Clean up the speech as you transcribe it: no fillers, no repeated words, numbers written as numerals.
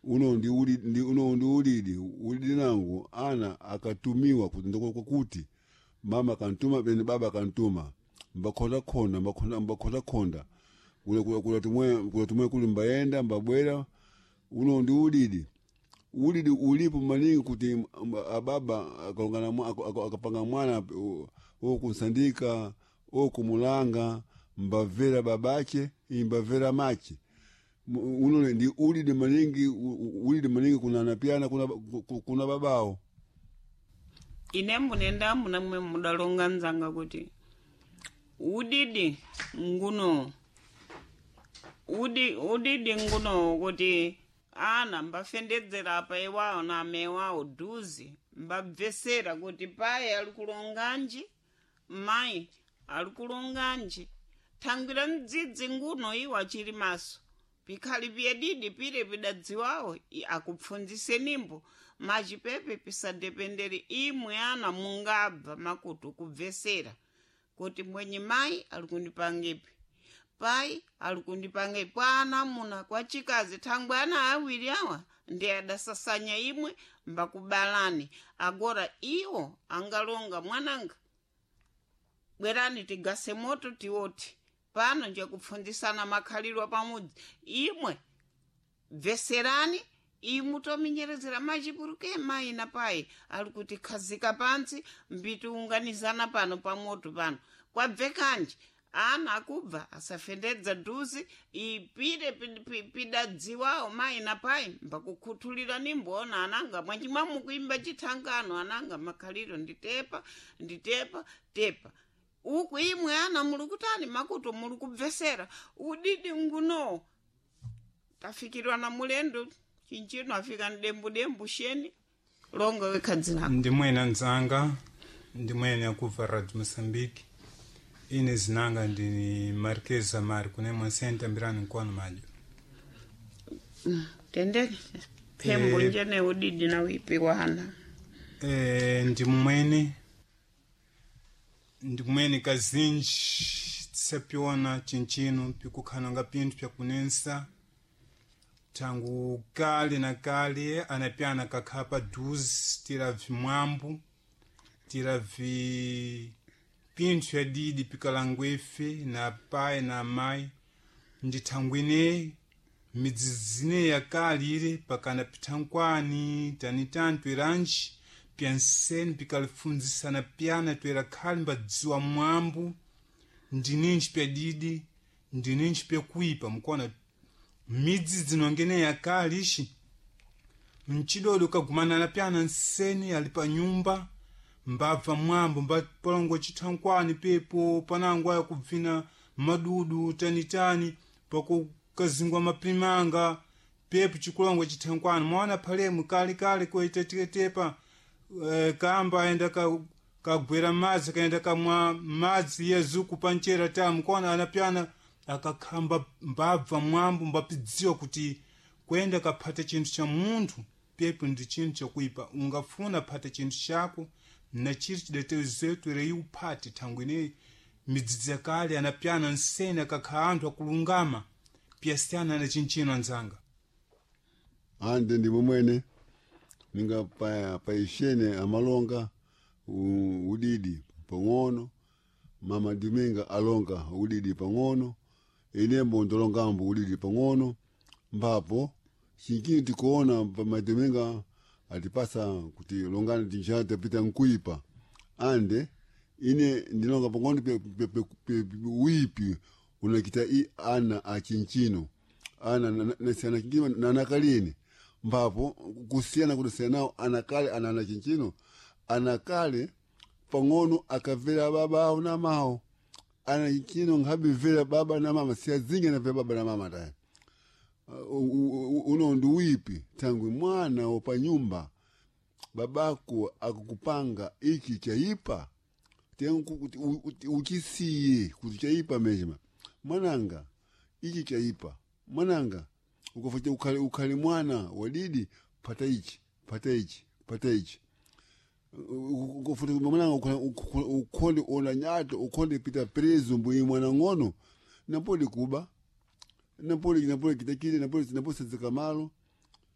Uno ndi uli ndi uno ndi ulidi ulidi nangu ana akatumiwa kuti kuti mama kantuma bene baba kantuma mbakhonda khonda mbakhonda mbakhonda khonda kula kula kula tumwe kula tumwe kuli mbayenda mbabwera. Uno ndi ulidi ulidi ulipo maningi kuti ababa akalongana akapanga mwana okunsandika okumulanga mbavera babache imbavera mache. Uno ndi ulidi maningi ulidi maningi kuna napiana kuna, kuna babao. Ine mbunenda muna mwe mudalonga nzanga kuti udidi nguno udidi nguno kuti ana mbafendedzera apa iwawo na amewawo dhuzi mbabvesera kuti paye ali kulonganji mayi ali kulonganji thangwira mdzidzi nguno iwo achili maso pikhali piyedidi pire pidadziwawo akupfundzisenimbo machipepe pisadependere imwe ana mungabva makutu kubvesera kuti mwenye mayi ali kundipangipi pai ali kundipangipi kwa ana muna kwa chikazi thangwe ana awiri awa ndi adasasanya imwe mbakubalani agora iwo angalonga mwananga bwerani tigase moto tiwoti pano njekupfundzisana makhalidwe pamudzi imwe bveserani imu tominyerezera machipuruke mayi na payi ali kuti khazika pantsi mbitiunganizana pano pamoto pano kwabvekanji ana akubva asafendedza dhuzi ipire pidadziwawo mayi na payi mbakukhuthulira nimboona ananga mwanjimwa mukuimba chithangano ananga makhaliro nditepa nditepa tepa uku imwe ana muli kutani makutu muli kubvesera udidi nguno tafikirwa na mulendo chinchino afika ndembudembu sheni longa wekhadzi lako. Ndimwene nzanga ndimwene akubva Radio Moçambique. Ine zinanga ndini Marquês Amari kune Monsente ambirani nkono majo. Tende phembo njene udidi na wipi wana. Ndimwene ndikumene kazinji tisapiona chinchino pikukhananga pinthu pyakunensa tangu kale na kale anapyana kakhala paduzi tira vimwambu tira vi pinthu fyadidi pikalangwa ife na pai na amayi ndi thangwi ineyi midzidzi ineyi yakale ile pakana pithankwani tanitani tweranji pyanseni pikalifundzisana pyana twera khali mbadziwa mwambu ndininji pyadidi ndininji pyakuipa mukuona midzi dzinongene yakale ixi mchidodo kagumanana pyana nseni ali pa nyumba mbabva mwambo mbapalongo chithankwani pepo panango aya kubvina madudu tanitani pakukazingwa mapimanga pepo chikulongo chithankwani mwaona phalemu kalekale koitatetepa kamba aenda kagwera madzi kaenda kamwa madzi yezuku panchera tamu kona anapyana akakhamba mbabva mwambo mbapidziwa kuti kwenda kaphata chinthu cha munthu pepo ndi chinthu chakuipa ungafuna phata chinthu chako na chiri chidatezetu ireyi uphate thangwi ineyi midzidzi yakale anapyana nsene akakhala anthu akulungama piyasiyana na chinchino anzanga. Ande ndimo mwene ninga paishene amalonga udidi pang'ono mama Diminga alonga udidi pang'ono inembo ndolongambo udidi pang'ono mbapo chinkini tikuona pamadiminga atipasa kuti longani tinjana tapita nkuipa ande ine ndilonga pang'ono wipi unakita i ana achinchino ana nasiyana chinkino nanakalini mbapo kusiyana kudasiyana nawo anakale ana anachinchino anakale pang'ono akavera baba awo na mawo ana chinchino nkhabivera baba na mama siyazinge navera baba na mama tayi uno ndi wipi thangwi mwana wopanyumba babako akukupanga ichi chaipa uchisiye kuti chaipa mejema mwananga ichi chaipa mwananga ukafacha ukhale ukhale mwana wadidi pata ichi pata ichi pata ichi ukafuta mwananga ukhonde ona nyato ukhonde pita preso mbuyi mwana ng'ono napoli kuba napoli napoli kitakile napoli napoli sadzika malo.